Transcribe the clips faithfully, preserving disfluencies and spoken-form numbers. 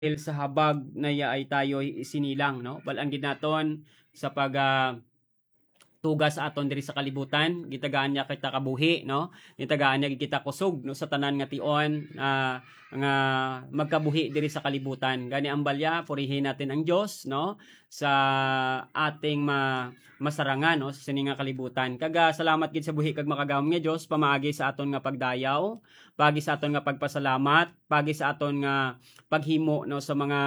sa habag na yaay tayo isinilang, no? Bal-an gid naton sa pag, ah, tuga sa aton diri sa kalibutan, gitagaan niya kita kabuhi, no? Gitagaan niya kita kusog, no, sa tanan nga tion, ah, nga magkabuhi diri sa kalibutan. Gani ang balya, purihin natin ang Dios, no, sa ating ma-, masarangan, no, sa sini nga kalibutan. Kag, ah, salamat gid sa buhi kag makagahom nga Dios pamaagi sa aton nga pagdayaw, paagi sa aton nga pagpasalamat, paagi sa aton nga paghimo, no, sa mga,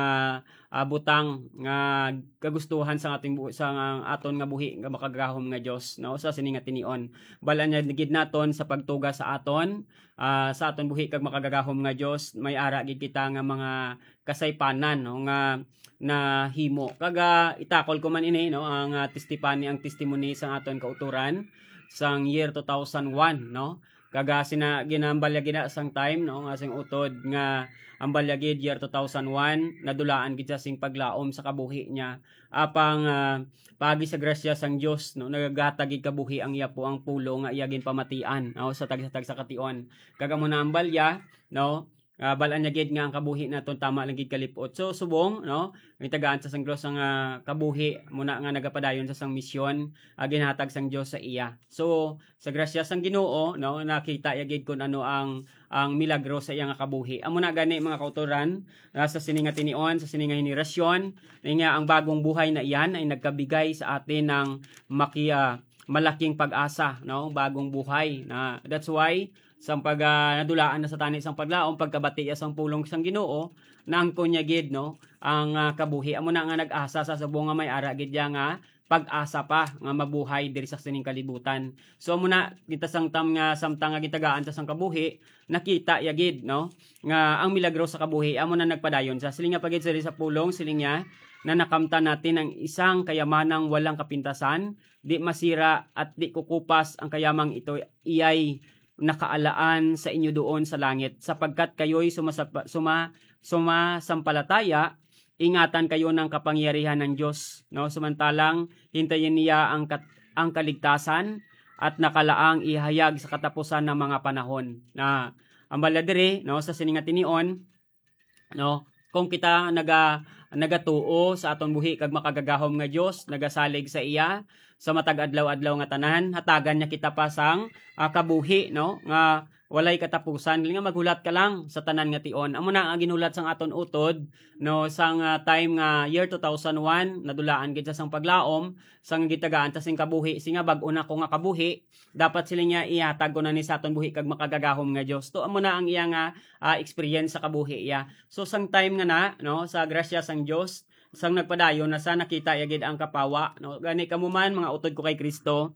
ah, butang nga kagustuhan sa ating bu-, sa nga aton nga buhi nga makagahom nga Dios, no, sa sini nga tinion. Bal-an niya gid naton sa pagtuga sa aton, ah, sa aton buhi kag makagagahom nga Dios, may ara gid kita nga mga kasaypanan, no, nga nahimo. Kag, ah, itakol ko man ini, no, ang, ah, testify-, ang testimony sang aton kautoran sang year two thousand one, no. Kag, ah, sina-, ginambalya gid na sang time, no, nga sing utod nga ang balya gid year two thousand one, nadulaan gid siya sing paglaom sa kabuhi niya. Apang, ah, paagi sa grasya sang Dios, no, nagagatag gid kabuhi ang iya po ang pulong nga iya ginpamatian, no, sa tagsa-tagsa ka tion. Kag amo na ang balya, no, ah, bal-an niya gid nga ang kabuhi naton tama lang gid kalipot. So, subong, no, may tagaan sa sang Dios ang, ah, kabuhi, muna nga nagapadayon sa sang misyon, ah, ginhatag sang Dios sa iya. So, sa grasya sang Ginoo, no, nakita iya gid kun ano ang, ang milagro sa iya nga kabuhi. Amo na gani, mga kautoran, ah, sa sini nga tinion, sa sini nga henerasyon, nga ang bagong buhay na iyan ay nagkabigay sa atin ng maki-, ah, malaking pag-asa, no, bagong buhay. Na, that's why sang pag, ah, nadulaan na sa tani sang paglaom, pagkabati iya sang pulong sang Ginoo, naangkon niya gid, no, ang, ah, kabuhi. Amo na nga nag-asa sa subong nga may ara gid iya nga pag-asa pa nga mabuhay diri sa sining kalibutan. So, amo na, kita sang tam nga, samtang nga gitagaan ta sang kabuhi, nakita iya gid, no, nga ang milagro sa kabuhi amo na nagpadayon. Sa siling nga pagid sa, sa pulong, siling niya, na nakamtan natin ang isang kayamanang walang kapintasan, di masira at di kukupas ang kayamang ito, iyay nakaalaan sa inyo doon sa langit, sapagkat kayo'y sumasapa-, suma-, sumasampalataya, ingatan kayo ng kapangyarihan ng Diyos, no? Samantalang hintayin niya ang kat-, ang kaligtasan at nakalaang ihayag sa katapusan ng mga panahon. Na ang bala diri, no, sa sini nga tinion, no, kung kita naga-, nagatuo sa aton buhi kag makagagahom nga Dios, nagasalig sa iya sa matag adlaw-adlaw nga tanan, hatagan niya kita pa sang, ah, kabuhi, no, nga walay katapusan. Nga maghulat ka lang sa tanan nga tion. Amo na ang ginulat sang aton utod, no, sang, ah, time nga year two thousand one, nadulaan gid sa sang paglaom, sang gitagaan ta sing kabuhi, singa bag-o na ko nga kabuhi, dapat sila niya ihatag ko na ni sa aton buhi kag makagagahom nga Dios. To, amo na ang iya nga, ah, experience sa kabuhi iya. So, sang time nga na, no, sa grasya sang Dios, sang nagpadayon na sa nakita iya gid ang kapawa, no? Gani kamo man, mga utod ko kay Kristo,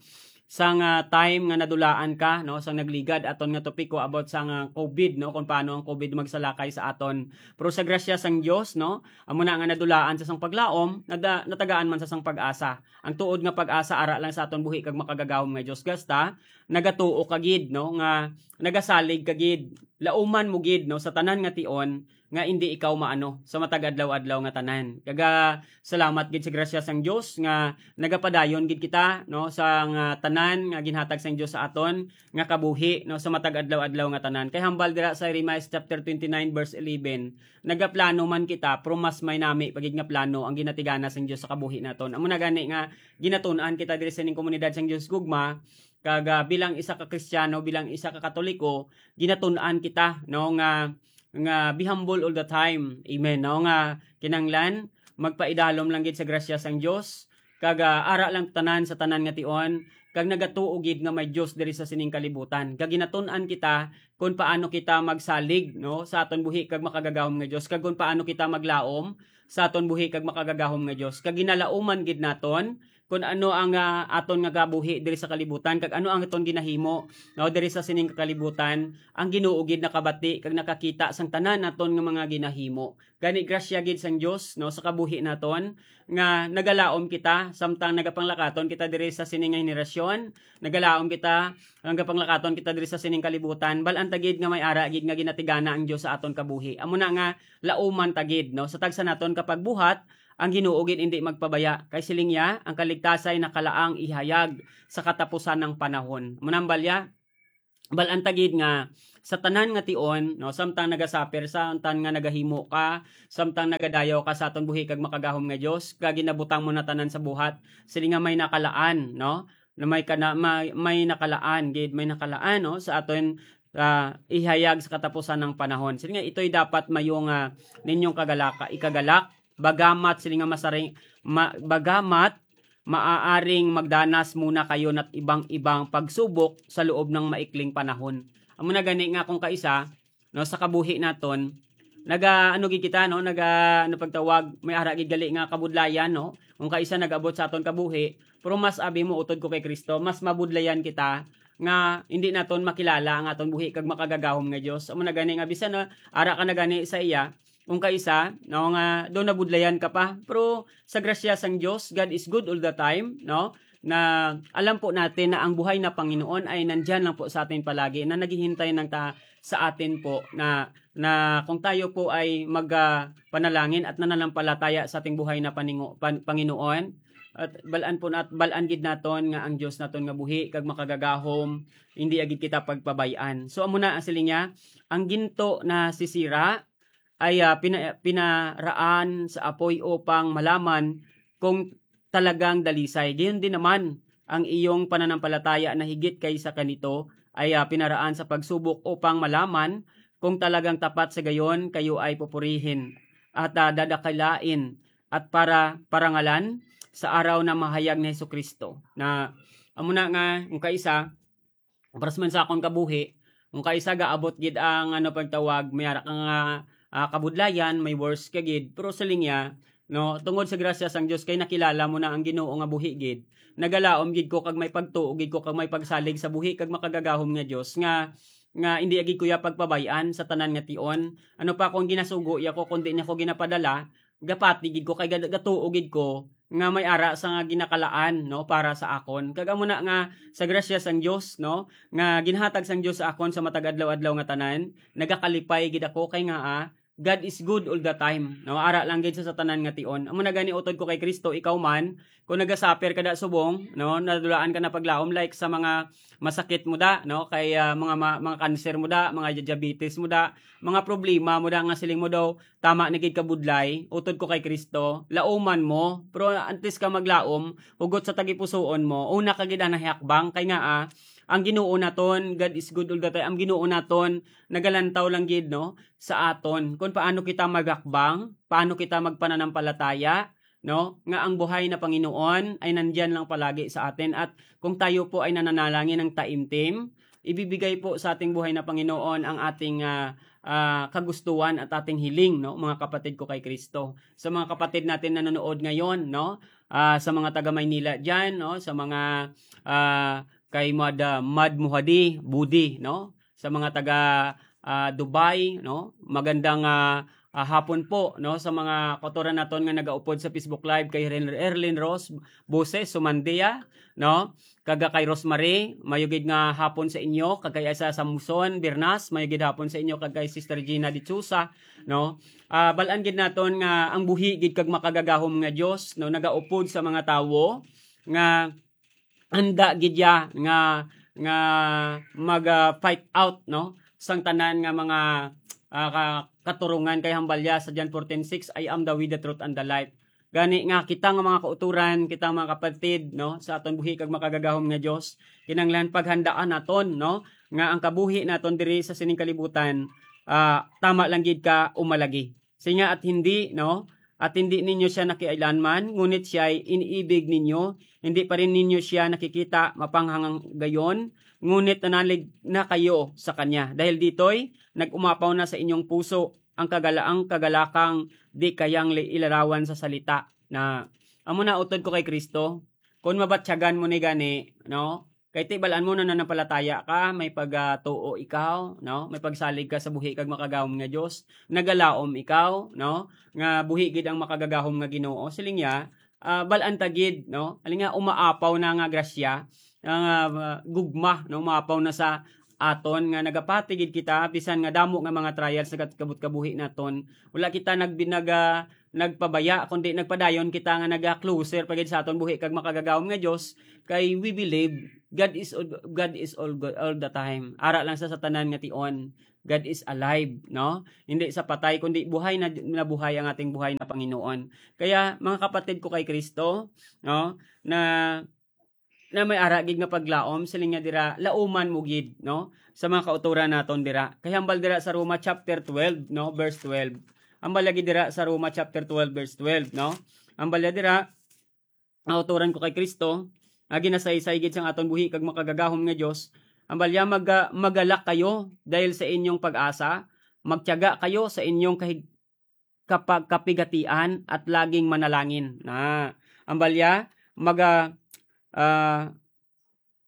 sang, ah, time nga nadulaan ka, no, sang nagligad aton nga topiko about sang, ah, covid, no, kung paano ang covid magsalakay sa aton. Pero sa grasya sang Dios, no, amo na nga nadulaan sa sang paglaom, nada-, natagaan man sa sang pag-asa. Ang tuod nga pag-asa ara lang sa aton buhi kag makagagahom nga Dios, gasta nagatuo ka gid, no, nga nagasalig ka gid, lauman mo gid, no, sa tanan nga tion nga indi ikaw maano sa matag adlaw-adlaw nga tanan. Kaga salamat gid sa grasya sang Dios nga nagapadayon gid kita, no, sa nga tanan nga ginhatag sang Dios sa aton nga kabuhi, no, sa matag adlaw-adlaw nga tanan. Kay hambal dira sa Jeremiah chapter twenty-nine verse eleven, nagaplano man kita, pero mas may nami pa gid nga plano ang ginatigana sang Dios sa kabuhi naton. Amo na gani nga ginatun-an kita diri sa ning komunidad sang Dios gugma, kag, ah, bilang isa ka Kristiyano, bilang isa ka Katoliko, ginatun-an kita, no, nga, nga be humble all the time. Amen, no, nga kinahanglan magpaidalom lang gid sa grasya sang Dios, kag, ah, ara lang tanan sa tanan nga tion, kag nagatuo gid nga may Dios diri sa sining kalibutan. Kag ginatun-an kita kung paano kita magsalig, no, sa aton buhi kag makagagahom nga Dios, kag kung paano kita maglaom sa aton buhi kag makagagahom nga Dios. Kag ginalauman gid naton kung ano ang, ah, aton nga gabuhi diri sa kalibutan, kag ano ang aton ginahimo, no, diri sa sining kalibutan. Ang Ginoo gid nakabati kag nakakita sang tanan naton nga mga ginahimo. Gani, grasya gid sang Dios, no, sa kabuhi naton, nga nagalaom kita samtang nagapanglakaton kita diri sa sini nga henerasyon, nagalaom kita, nagapanglakaton kita diri sa sining kalibutan. Bal-an ta gid nga may ara gid nga ginatigana ang Dios sa aton kabuhi. Amo na nga, lauman ta gid, no, sa tagsa naton ka pagbuhat, ang Ginoo gid indi magpabaya, kay siling niya, ang kaligtasay nakalaang ihayag sa katapusan ng panahon. Amo na ang balya, bal-an ta gid nga sa tanan nga tion, no, samtang nagasuffer, samtang nga nagahimo ka, samtang nagadayaw ka sa aton buhi kag makagahom nga Dios, kag ginabutang mo na tanan sa buhat, sila nga may nakalaan, no, na may kana-, may, may nakalaan gid, may nakalaan, no, sa aton, ah, ihayag sa katapusan ng panahon. Sila nga ito'y dapat mayo nga ninyong kagalaka, ikagalak, bagamat sila nga masaring, ma-, bagamat maaaring magdanas muna kayo ng ibang-ibang pagsubok sa loob ng maikling panahon. Amo na gani nga kung kaisa, no, sa kabuhi naton, naga, ano gid kita, no, naga, ano pagtawag, may ara gid gali nga kabudlayan, no? Kung kaisa nag-abot sa aton kabuhi, pero mas abi mo, utod ko kay Kristo, mas mabudlayan kita nga hindi naton makilala ang aton buhi kag makagagahom nga Dios. Amo na gani nga bisan na ara ka na gani sa iya, kung kaisa, no, nga do nabudlayan ka pa. Pero sa grasya sang Dios, God is good all the time, no? Na alam po natin na ang buhay na Panginoon ay nandyan lang po sa atin palagi, na naghihintay ng ta-, sa atin po na, na kung tayo po ay mag, ah, panalangin at nananampalataya sa ating buhay na paningo-, pan-, Panginoon, at balaan po nat-, balaan gid naton nga ang Dios naton nga buhi kag makagagahom, hindi agid kita pagpabay-an. So, amo na ang siling niya, ang ginto na sisira ay, ah, pina-, pinaraan sa apoy upang malaman kung talagang dalisay. Gayon din naman, ang iyong pananampalataya na higit kaysa kanito ay, ah, pinaraan sa pagsubok upang malaman kung talagang tapat sa gayon kayo ay pupurihin at, ah, dadakilain at para parangalan sa araw na mahayag ni Jesu-Cristo. Na, amo na nga, kung kaisa, para sa man sa akon kabuhi, kung kaisa gaabot gid ang, ano, pagtawag, may ara ka nga, ah, kabudlayan, may worse ka gid, pero siling niya, no, tungod sa grasya sang Dios kay nakilala mo na ang Ginoo nga buhi gid, nagalaom gid ko kag may pagtuo gid ko kag may pagsalig sa buhi kag makagagahom nga Dios nga, nga hindi gid ko iya pagpabay-an sa tanan nga tion. Ano pa kung ginasugo iya ko, kundi niya ko ginapadala, gapati gid ko kay gad-, gatuo gid ko nga may ara sa nga ginakalaan, no, para sa akon. Kag amo na nga sa grasya sang Dios, no, nga ginhatag sang Dios sa akon sa matag adlaw-adlaw nga tanan, nagakalipay gid ako kay nga, ah, God is good all the time, no? Ara lang gid sa, sa tanan nga tion. Amo na gani, utod ko kay Kristo, ikaw man, kung nagasuffer ka da subong, no, nadulaan ka na paglaom, like sa mga masakit mo da, no, kay, ah, mga ma-, mga cancer mo da, mga diabetes mo da, mga problema mo da nga siling mo daw, tama na gid ka budlay, utod ko kay Kristo, lauman mo. Pero antes ka maglaom, hugot sa tagipusoon mo, una ka gid anay hakbang, kay nga, ah, ang Ginoo naton, God is good all the time. Ang Ginoo naton nagalantaw lang gid, no, sa aton, kung paano kita maghakbang, paano kita magpananampalataya, no, nga ang buhay na Panginoon ay nandiyan lang palagi sa atin. At kung tayo po ay nananalangin ng taimtim, ibibigay po sa ating buhay na Panginoon ang ating, ah, ah, kagustuhan at ating hiling, no, mga kapatid ko kay Kristo. Sa mga kapatid natin nanonood ngayon, no, ah, sa mga taga Maynila diyan, no, sa mga, ah, kay Mad, ah, Mad Muhadi, Budi, no, sa mga taga, ah, Dubai, no, magandang, ah, ah, hapon po, no, sa mga kautoran naton nga nagaupod sa Facebook Live, kay Ren-, Erlin Ross Boses Sumandia, no, kag kay Rosemary, mayo gid nga hapon sa inyo, kag kay Asa Samson Bernas, mayo gid hapon sa inyo, kag kay Sister Gina Dichusa, no. Ah, bal-an gid naton nga ang buhi gid kag makagagahom nga Dios, no, nagaupod sa mga tawo nga handa gid ya nga, nga mag, ah, fight out, no, sang tanan nga mga, ah, ka-, katurungan kay hambal ya sa John fourteen six, "I am the way, the truth, and the life." Gani nga kita nga mga kauturan, kita nga mga kapatid, no, sa aton buhi kag makagagahom nga Dios, kinahanglan paghandaan naton, no, nga ang kabuhi naton diri sa sining kalibutan, ah, tama lang gid ka umalagi. Siya nga, at hindi, no, at hindi ninyo siya nakiailanman, ngunit siya ay iniibig ninyo, hindi pa rin ninyo siya nakikita mapanghanggayon, ngunit nanalig na kayo sa kanya. Dahil ditoy, nag-umapaw na sa inyong puso ang kagalaang kagalakang di kayang li-, ilarawan sa salita. Na, amo na utod ko kay Kristo. Kung mabatyagan mo ni gani, no? Kay ti bal-an mo na nanampalataya ka, may pagatuo ikaw, no? May pagsalig ka sa buhi kag makagahom nga Dios. Nagalaom ikaw, no? Nga buhi gid ang makagagahom nga Ginoo. Siling niya, ah, bal-an ta gid, no? Aling nga umaapaw na nga grasya, nga, ah, gugma, no? Umaapaw na sa aton nga nagapati gid kita, bisan nga damo nga mga trials sa kat-, kabut-, kabuhi naton. Wala kita nag-, nag-, ah, nagpabaya, kundi nagpadayon kita nga naga-closer pa gid sa aton buhi kag makagagahom nga Dios, kay we believe God is all, God is all, all the time. Ara lang sa, sa tanan nga tion, God is alive, no? Hindi sa patay, kundi buhay na, na buhay ang ating buhay na Panginoon. Kaya, mga kapatid ko kay Kristo, no, na, na may ara gid nga paglaom, siling niya dira, lauman mo gid, no, sa mga kautoran naton dira. Kay hambal dira sa Roma chapter twelve, no, verse twelve. Hambal lagi dira sa Roma chapter twelve, verse twelve, no? Hambal niya dira, kautoran ko kay Kristo, nga ginasaysay gid sang aton buhi kag makagagahom nga Dios, hambal niya, maga-, magalak kayo dahil sa inyong pag-asa, magtiyaga kayo sa inyong kahig-, kapag-, kapigatian at laging manalangin. Na, hambal niya, maga-, ah,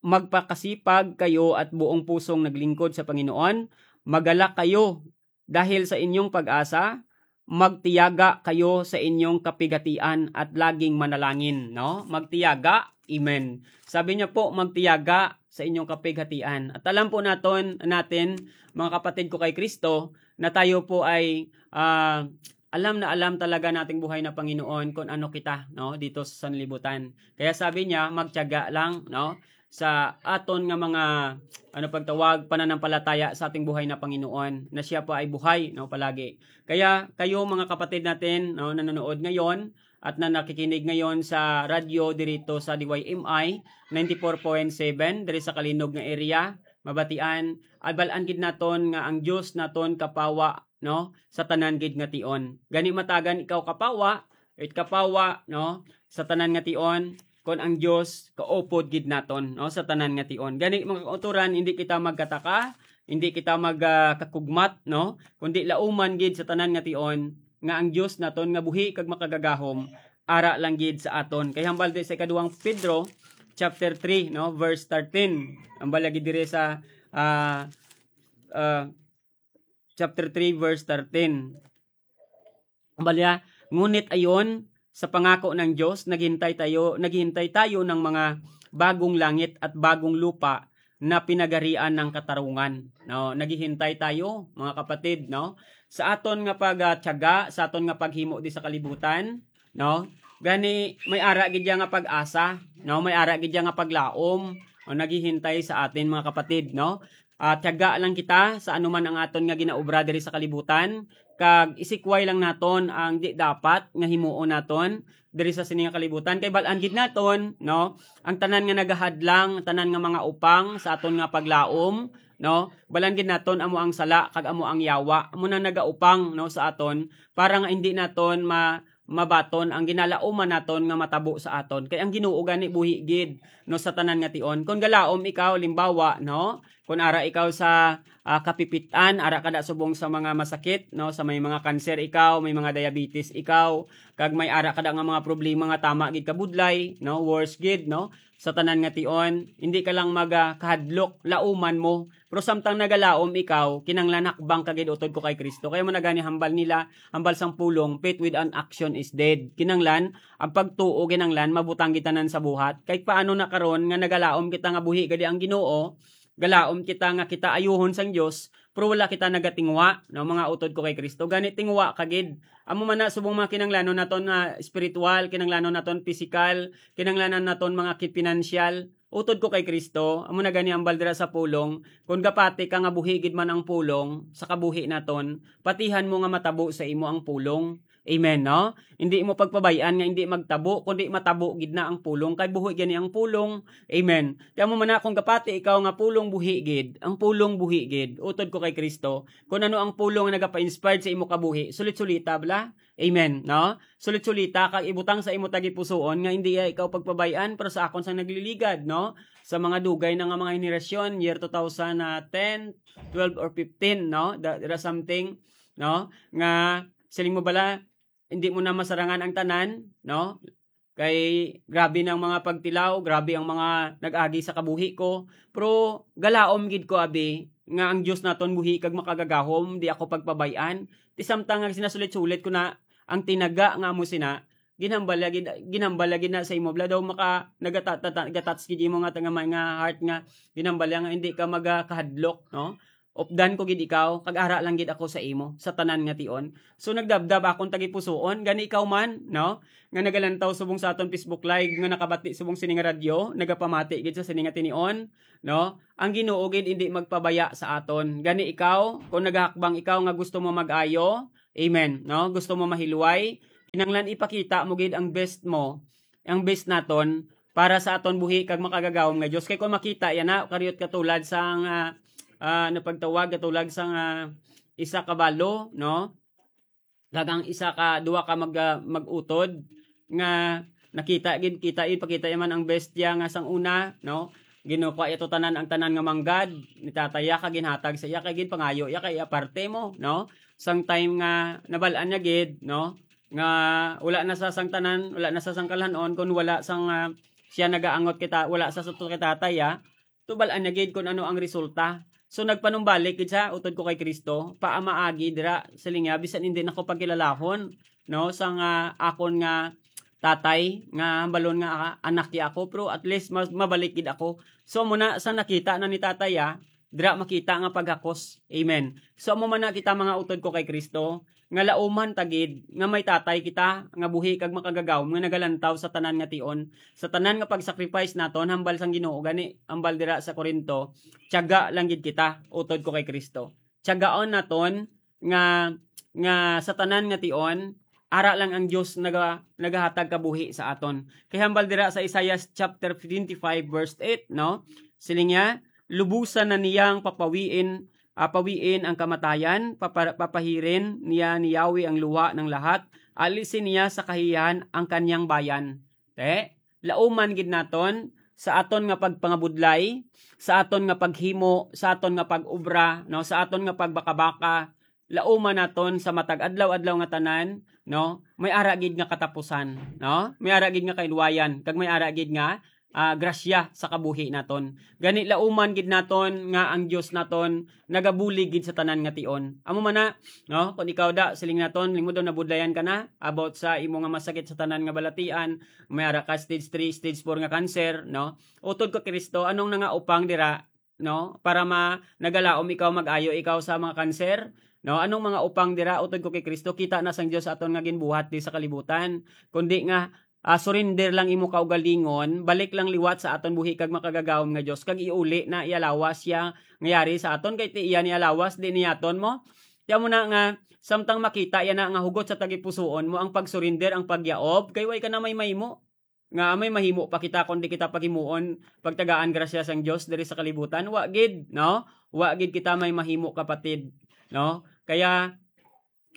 magpakasipag kayo at buong pusong naglingkod sa Panginoon, magalak kayo dahil sa inyong pag-asa, magtiyaga kayo sa inyong kapigatian at laging manalangin, no? Magtiyaga. Amen. Sabi niya po, magtiyaga sa inyong kapighatian. At alam po naton, natin, mga kapatid ko kay Kristo, na tayo po ay, ah, alam na alam talaga nating buhay na Panginoon kung ano kita, no, dito sa sanlibutan. Kaya sabi niya, magtiyaga lang, no, sa aton nga mga, ano, pagtawag, pananampalataya sa ating buhay na Panginoon, na siya pa ay buhay, no, palagi. Kaya kayo, mga kapatid natin, no, nanonood ngayon at na nakikinig ngayon sa radyo dirito sa D Y M I ninety-four point seven, diri sa Kalinog nga area, Mabatian, abal-an gid naton nga ang Dios naton kapawa, no, sa tanan gid nga tion. Gani, matagan ikaw kapawa, it kapawa, no, sa tanan nga tion, kon ang Dios kaupod gid naton, no, sa tanan nga tion. Gani, mga kautoran, hindi kita magkataka, hindi kita mag, ah, kakugmat, no, kundi lauman gid sa tanan nga tion nga ang Dios naton nga buhi kag makagagahom ara lang gid sa aton. Kay hambal di sa ikaduhang Pedro chapter three, no, verse thirteen. Hambal lagi diri sa, ah, ah, chapter three, verse thirteen. Hambal niya, ngunit ayon, sa pangako ng Dios, naghintay tayo, naghihintay tayo ng mga bagong langit at bagong lupa na pinagarian ng katarungan. No, naghihintay tayo, mga kapatid, no, sa aton nga pagtiyaga, sa aton nga paghimo di sa kalibutan, no? Gani, may ara gid ya nga pag-asa, no? May ara gid ya nga paglaom, o naghihintay sa atin, mga kapatid, no? Ah, tiyaga lang kita sa anuman ang aton nga ginaobra diri sa kalibutan, kag isikway lang naton ang di dapat nga himuon naton diri sa sini nga kalibutan. Kay bal-an gid naton, no? Ang tanan nga nagahadlang, tanan nga mga upang sa aton nga paglaom, no? Bal-an gid naton amo ang sala kag amo ang yawa, amo na nagaupang, no, sa aton para nga hindi naton ma-, mabaton ang ginalauman naton nga matabo sa aton. Kay ang Ginoo gani buhi gid, no, sa tanan nga tion. Kon galaom ikaw, limbawa, no, kon ara ikaw sa, ah, kapipit-an, ara kada subong sa mga masakit, no, sa may mga kanser ikaw, may mga diabetes ikaw, kag may ara kada nga mga problema nga tama gid kabudlay, no, worse gid, no, sa tanan nga tion, hindi ka lang maga-, kahadlok, lauman mo. Pero samtang nagalaom ikaw, kinanglan hakbang ka gid utod ko kay Kristo. Kaya mo na gani hambal nila, hambal sang pulong, "Faith without action is dead." Kinanglan, ang pagtuo kinanglan mabutang gid tanan sa buhat. Kay paano na karon nga nagalaom kita nga buhi gani ang Ginoo, galaom kita nga kita ayuhon sang Dios, pero wala kita nagatingwa, no, mga utod ko kay Kristo. Gani tingwa ka gid. Amo man na subong mga kinanglanon naton nga espiritual, kinanglanon naton pisikal, kinanglanon naton mga ki-, pinansyal. Utod ko kay Kristo, amo na gani ang baldra sa pulong. Kung gapati ka nga buhi gid man ang pulong sa kabuhi naton, patihan mo nga matabo sa imo ang pulong. Amen, no? Hindi mo pagpabay-an nga hindi magtabo, kundi matabo gid na ang pulong, kay buhi gani ang pulong. Amen. Kaya mo man na, kung gapati ikaw nga pulong buhi gid, ang pulong buhi gid, utod ko kay Kristo, kung ano ang pulong nga nagapa-inspired sa imo kabuhi, sulit-sulita bala. Amen, no? Sulit-sulita kag ibutang sa imo tagipusoon nga hindi ya ikaw pagpabay-an, pero sa akon sang nagliligad, no? Sa mga dugay na nga mga henerasyon, year two thousand ten, twelve or fifteen, no? Da-, there are something, no? Nga siling mo bala, hindi mo na masarangan ang tanan, no? Kay grabe na ang mga pagtilaw, grabe ang mga nag-agi sa kabuhi ko. Pero galaom gid ko, abi, nga ang Dios naton buhi kag makagagahom, di ako pagpabay-an. Ti samtang nga sinasulit-sulit ko na ang tinaga nga amo sina, ginhambal lagi, ginhambal lagi na sa imo, bala daw maka-, nagata-, tata-, gatats gid imo nga tanga may nga heart nga ginhambal nga hindi ka magakahadlok, no? updan ko gid ikaw, kag ara lang gid ako sa imo sa tanan nga tion. So nagdabdab akon tagipusoon, gani ikaw man, no, nga nagalantaw subong sa aton Facebook Live, nga nakabati subong sini nga radyo, nagapamati gid sa sini nga tinion, no? Ang Ginoo gid indi magpabaya sa aton. Gani ikaw, kung nagahakbang ikaw nga gusto mo mag-ayo, amen, no? Gusto mo mahilway, kinahanglan ipakita mo gid ang best mo, ang best naton para sa aton buhi kag makagagahom nga Dios. Kay kung makita yana, kariyot katulad sang, ah, ah, ano pagtawag, katulad sang, ah, isa ka balo, no? Kag ang isa ka, duha ka mag-, ah, mag-utod nga nakita gid, kita, ipakita man ang bestia nga sang una, no? Ginukuha iya to tanan, ang tanan nga manggad ni tatay iya, kag ginhatag sa iya, kay ginpangayo iya kay iya parte mo, no? Sang time nga nabal-an niya gid, no, nga wala na sa sang tanan, wala na sa sang kalhanon, kun wala sang, ah, siya nagaangot kita, wala sa suto kay tatay, ah, tubal-an niya gid kun ano ang resulta. So, nagpanumbalik gid siya, utod ko kay Cristo, paamaagi dira, siling niya, bisan hindi na ko pagkilalahon, no, sang, ah, akon nga tatay, nga hambalon nga, ah, anak niya ako, pero at least mas mabalik gid ako. So, amo na, sa nakita na ni tatay, ah, dira makita nga paghakos. Amen. So, amo man na kita, mga utod ko kay Cristo, nga lauman ta gid nga may tatay kita nga buhi kag makagagahom nga nagalantaw sa tanan nga tion, sa tanan nga pag-sacrifice naton hambal sang Ginoo. Gani, hambal dira sa Corinto, tiyaga lang gid kita, utod ko kay Cristo. Tiyagaon naton nga, nga sa tanan nga tion, ara lang ang Dios naga-, nagahatag kabuhi sa aton. Kay hambal dira sa Isaiah chapter twenty-five verse eight, no? Siling niya, "Lubusan na niyang papawiin, ah, pawiin ang kamatayan, papa-, papahirin niya ni Yahweh ang luha ng lahat, alisin niya sa kahiyan ang kanyang bayan." Te, lauman gid naton sa aton nga pagpangabudlay, sa aton nga paghimo, sa aton nga pag-obra, no, sa aton nga pagbakabaka, lauman naton sa matag adlaw-adlaw nga tanan, no, may ara gid nga katapusan, no? May ara gid nga kahilwayan, kag may ara gid nga, ah, grasya sa kabuhi naton. Gani, lauman gid naton nga ang Dios naton nagabulig gid sa tanan nga tion. Amo man na, no? Kung ikaw da, siling naton, lingmod daw nabudlayan ka na about sa imo nga masakit sa tanan nga balatian, may ara ka stage three, stage four nga cancer, no? Utod ko Kristo, anong nangaupang dira, no? Para ma-, nagalaom ikaw, mag-ayo ikaw sa mga cancer, no? Anong mga upang dira? Utod ko kay Kristo, kita na sang Dios aton nga ginbuhat di sa kalibutan. Kundi nga, ah, surrender lang imo kaugalingon, balik lang liwat sa aton buhi kag makagagahom nga Dios, kag iuli na iya lawas siya nga yari sa aton, kay ti iya ni lawas, di niyaton mo. Ti amo na nga, samtang makita iya na nga hugot sa tagipusoon mo ang pagsurrender, ang pagyaob, kay way ka na may mahimo. Nga may mahimo pa kita kon di kita paghimuon, pagtagaan grasya sang Dios diri sa kalibutan? Wa gid, no? Wa gid kita may mahimo, kapatid, no? Kaya,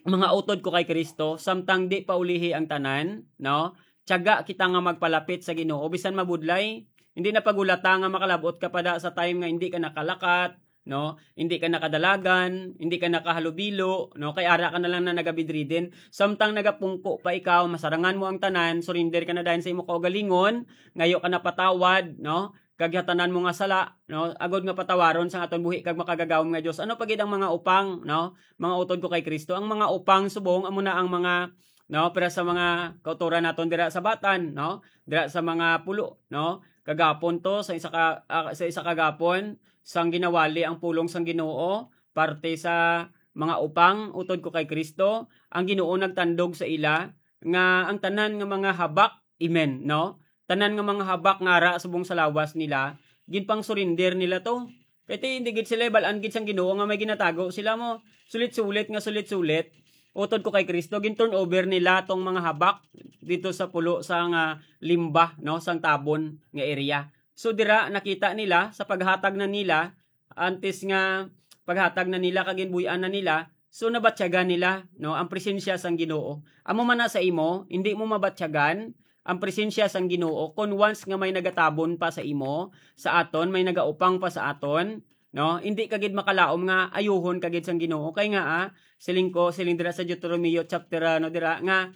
mga utod ko kay Kristo, samtang di pa ulihi ang tanan, no? Tiyaga kita nga magpalapit sa Ginoo, bisan mabudlay. Hindi na pagulata nga makalabot ka pa da sa time nga hindi ka nakalakat, no? Hindi ka nakadalagan, hindi ka nakahalubilo, no? Kay ara ka na lang na nagabidridin. Samtang nagapungko pa ikaw, masarangan mo ang tanan, surrender ka na dayon sa imo kaugalingon, ngayo ka na patawad, no? Kag hatanan mo nga sala, no? Agod nga patawaron sang aton buhi kag makagagahom nga Dios. Ano pa gid ang mga upang, no? Mga utod ko kay Kristo, ang mga upang subong amo na ang mga, no, para sa mga kautoran naton dira sa Batan, no? Dira sa mga pulo, no? Kagapon to, sa isa ka, ah, sa isa kagapon, sang ginawali ang pulong sang Ginoo, parte sa mga upang utod ko kay Kristo, ang Ginoo nagtandog sa ila nga ang tanan nga mga habak, amen, no? Tanan nga mga habak nga ara subong sa lawas nila, ginpang-surrender nila to. Kay ti, hindi gid sila bal-an gid sang Ginoo nga may ginatago sila mo. Sulit-sulit nga sulit-sulit, utod ko kay Kristo, gin-turn over nila tong mga habak dito sa pulo sang, ah, Limba, no, sang Tabon nga area. So dira nakita nila sa paghatag na nila, antes nga paghatag na nila kag ginbuy-an na nila, so nabatyagan nila, no, ang presensya sang Ginoo. Amo man na sa imo, hindi mo mabatyagan ang presensya sang Ginoo kon once nga may nagatabon pa sa imo, sa aton, may nagaupang pa sa aton, no? Hindi ka gid makalaom nga ayuhon ka gid sang Ginoo. Kay nga, ah, siling ko, siling dira sa Deuteronomio chapter, ano, dira, nga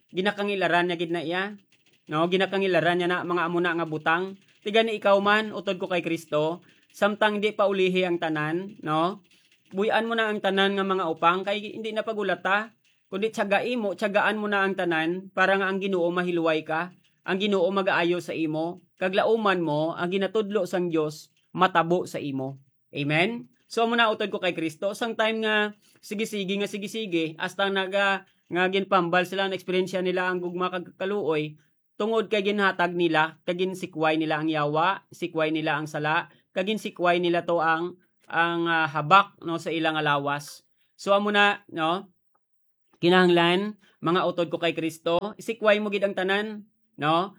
ginakangilaran niya gid na iya, no? Ginakangilaran niya na mga amo na nga butang. Ti gani ikaw man, utod ko kay Kristo, samtang di pa ulihi ang tanan, no? Buy-an mo na ang tanan nga mga upang, kay hindi na pagulata, kundi tiyagai mo, tiyagaan mo na ang tanan, para nga ang Ginoo mahiluway ka, ang Ginoo magaayo sa imo, kag lauman mo ang ginatudlo sang Dios matabo sa imo. Amen? So, amo na, utod ko kay Kristo, sang time nga sige-sige nga sige-sige, hasta naga-, nga ginpambal sila, na-eksperyensya nila ang gugma kag kaluoy, tungod kay ginhatag nila, kag ginsikway nila ang yawa, sikway nila ang sala, kag ginsikway nila to ang, ang, ah, habak, no, sa ila nga lawas. So, amo na, no, kinahanglan, mga utod ko kay Kristo, isikway mo gid ang tanan, no?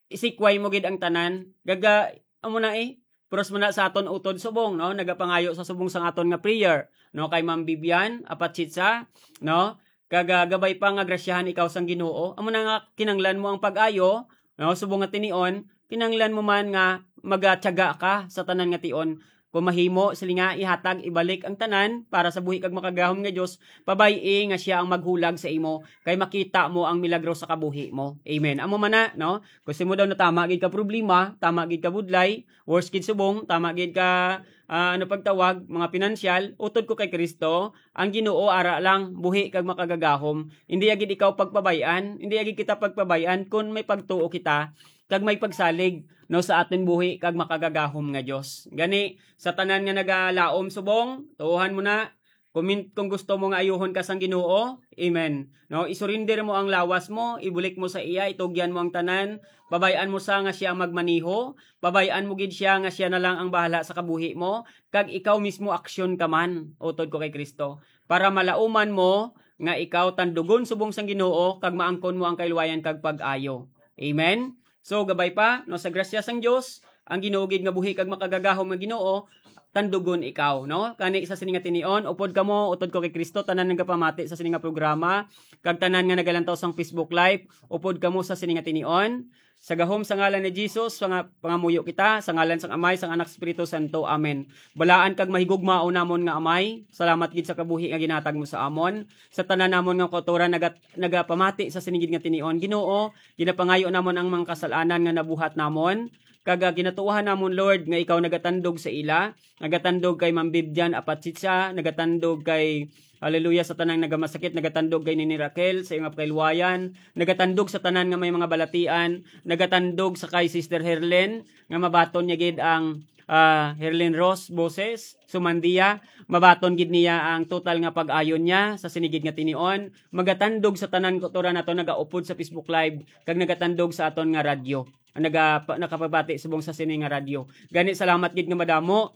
Isikway mo gid ang tanan. Gaga, amo na eh. Puros mo na sa aton utod subong, no? Nagapangayo sa subong sang aton nga prayer, no? Kay Ma'am Vivian Apachitsa, no? Kag, ah, gabay pa nga grasyahan ikaw sang Ginoo. Amo na nga kinanglan mo ang pag-ayo, no? Subong nga tinion, kinanglan mo man nga magatiyaga ka sa tanan nga tion. Kung mahimo, sila nga ihatag, ibalik ang tanan para sa buhi kag makagahom nga Dios, pabay-i nga siya ang maghulag sa imo, kay makita mo ang milagro sa kabuhi mo. Amen. Amo man na, no? Kung sa imo daw natama gid ka problema, tama gid ka budlay, worst gid subong, tama gid ka, ah, ano pagtawag, mga pinansyal, utod ko kay Kristo, ang Ginoo ara lang, buhi kag makagagahom. Hindi agid ikaw pagpabay-an, hindi agid kita pagpabay-an kun may pagtuo kita kag may pagsalig, no, sa aton buhi kag makagagahom nga Dios. Gani, sa tanan nga nagalaom subong, tuohan mo na. Comment kung gusto mo nga ayuhon ka sang Ginoo. Amen. No, isurinder mo ang lawas mo, ibulik mo sa iya, itugyan mo ang tanan, pabay-an mo sa nga siya ang magmaneho, pabay-an mo gid siya nga siya na lang ang bahala sa kabuhi mo, kag ikaw mismo aksyon ka man, utod ko kay Kristo, para malauman mo nga ikaw tandugon subong sang Ginoo kag maangkon mo ang kaluwayan kag pag-ayo. Amen. So, gabay pa, no, sa grasya sang Dios, ang Ginoo gid nga buhi kag makagagahom nga Ginoo, tandugon ikaw, no? Kani sa sini nga tinion, upod kamo, utod ko kay Kristo, tanan nagapamati sa sini nga programa, kag tanan nga nagalantaw sang Facebook Live, upod kamo sa sini nga tinion. Sa gahom sa ngalan ni Jesus, sa nga pangamuyo kita, sa ngalan sang Amay, sang Anak, Espiritu Santo. Amen. Balaan kag mahigugmaon namon nga Amay, salamat gid sa kabuhi nga ginatag mo sa amon. Sa tanan namon nga kautoran nagat-, nagapamati sa sini gid nga tinion, Ginoo, ginapangayo namon ang mga kasalanan nga nabuhat namon, kag, ah, ginatuohan namon, Lord, nga ikaw nagatandog sa ila, nagatandog kay Ma'am Vivian Apachitsa, nagatandog kay, hallelujah, sa tanang nagamasakit, nagatandog kay Nini Raquel sa iyang kaluwayan, nagatandog sa tanan nga may mga balatian, nagatandog sa kay Sister Herlin, nga mabaton niya gid ang, ah, Herlin Ross Boses, Sumandia, mabaton gid niya ang total nga pag-ayon niya sa sini gid nga tinion, magatandog sa tanan kautoran nato nagaupod sa Facebook Live, kag nagatandog sa aton nga radyo, naga-, pa-, nakapabati subong sa sini nga radyo. Gani, salamat gid nga madamo,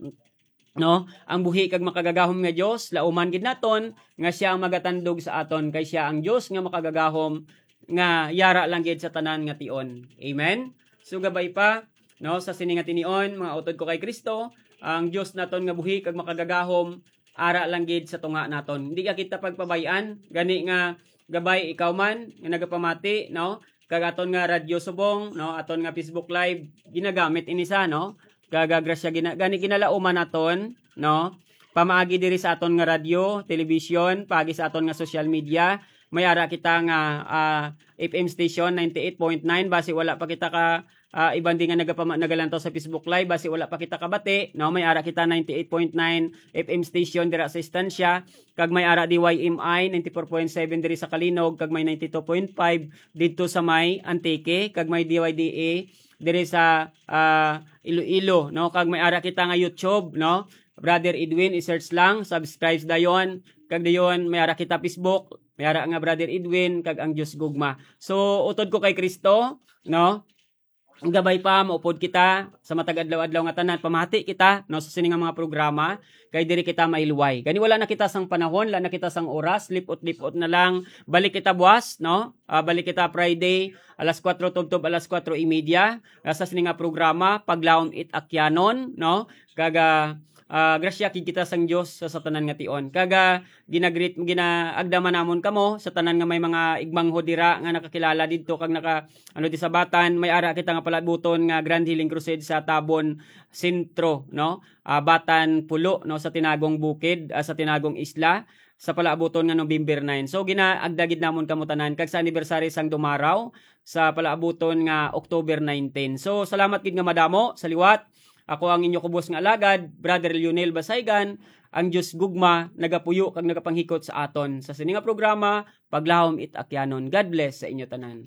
no? Ang buhi kag makagagahom nga Dios, lauman gid naton nga siya ang magatandog sa aton, kay siya ang Dios nga makagagahom, nga yara lang gid sa tanan nga tion. Amen? So, gabay pa, no, sa sini nga tinion, mga utod ko kay Kristo, ang Dios naton nga buhi kag makagagahom, ara lang gid sa tunga naton. Hindi ka kita pagpabay-an, gani nga gabay ikaw man nga nagapamati, no? Kag aton nga radyo subong, no? Aton nga Facebook Live, ginagamit ini sa, no? Kag, ah, grasya gina-, gani ginalauman naton, no? Pamaagi diri sa aton nga radyo, television, paagi sa aton nga social media, may ara kita nga, ah, F M station ninety-eight point nine, basi wala pa kita ka, ah, iban di nga nagapama-, nagalantaw sa Facebook Live, basi wala pa kita kabati, no? May ara kita ninety-eight point nine F M station dira sa Estancia, kag may ara D Y M I ninety-four point seven diri sa Calinog, kag may ninety-two point five didto sa may Antique, kag may D Y D A diri sa, ah, Iloilo, no? Kag may ara kita nga YouTube, no? Brother Edwin, i-search lang, subscribe dayon. Kag dayon, may ara kita Facebook, may ara nga Brother Edwin, kag ang Dios Gugma. So, utod ko kay Kristo, no? Gabay pa, maupod kita sa matag adlaw-adlaw nga tanan. Pamati kita, no, sa sini nga mga programa. Kay diri kita mailway. Gani wala na kita sang panahon, wala na kita sang oras, lipot-lipot na lang. Balik kita buwas, no? Ah, balik kita Friday, alas kuwatro tubtob alas kuwatro y media. Ah, sa sini nga programa, Paglawom it Akyanon, no? Kag, ah, ah, grasya gid kita sang Dios sa, sa tanan nga tion. Kag, ah, ginagreet, ginaagdaman namon kamo sa tanan nga may mga igmanghod dira nga nakakilala didto kag naka, ano, di sa Batan, may ara kita nga palabuton nga Grand Healing Crusade sa Tabon Sentro, no? Ah, Batan Pulo, no, sa Tinagong Bukid, ah, sa Tinagong Isla, sa palaabuton nga November nine. So, ginaagda gid namon kamo tanan kag sa anniversary sang Dumaraw sa palaabuton nga October nineteen. So, salamat gid nga madamo sa liwat. Ako ang inyo kubos nga alagad, Brother Lionel Basaygan, ang Dios gugma, nagapuyo kag nagapanghikot sa aton. Sa sini nga programa, Paglawom it Akyanon. God bless sa inyo tanan.